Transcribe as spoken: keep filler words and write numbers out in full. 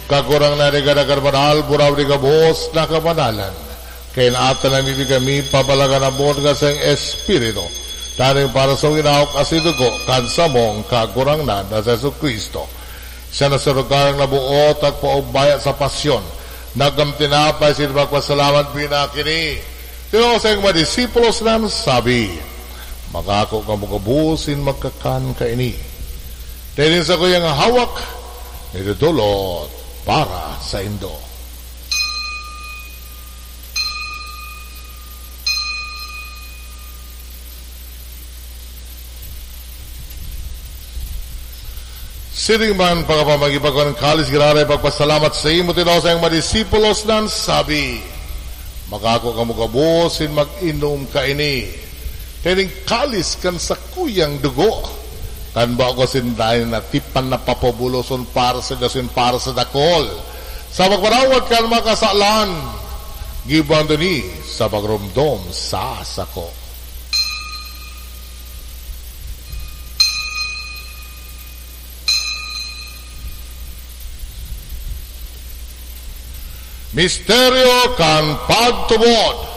Kagurangnan, igwa na kan banal, buraw di gabos na kabanalan. Kaya naatan na mibigay mi, pabalagan ang buot ka sa Espiritu. Tanong para sa winawak asin dugo, kan samong Kagurangnan na si Jesu-Cristo. Siya na sa lugar na buot at paubaya sa pasyon. Nagkam tinapay, sin magpasalamat, pinakini. Tinao sa mga disipulos nan sabi, "Magako kamo gabos sin magkakan kaini. Dai nin sakuyang hawak, idodolot para saindo." Siring man, pagkapamagipag kan kalis, giraray pagpasalamat saimo, tinao sa mga disipulos nan sabi, "Magako kamo gabos sin mag-inom kaini. Kaining kalis kan sakuyang dugo, kan bago sinda na tipan na papabuloson para sa gasin para sa dakol, sa pagparawad kan mga kasalan. Gibohon ini sa pagromdom sa sako." Misteryo kan pagtubod.